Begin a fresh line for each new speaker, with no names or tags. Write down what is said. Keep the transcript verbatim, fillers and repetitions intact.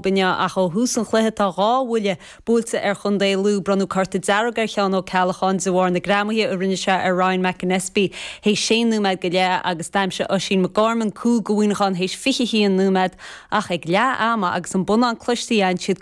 Inniu ach ó thús an chluiche tá dhá bhuille buailte ar Chontae Lú bronnadh cárta dearg ar Sheán Ó Ceallacháin de bharr na greamaithe a rinne sé ar Ryan McAnespie théis sé nóiméad go leith agus d'aimsigh Oisín McGorman cúl do Mhuineachán théis fiche haon nóiméad ach ag leath ama agus an bonnán cloiste siad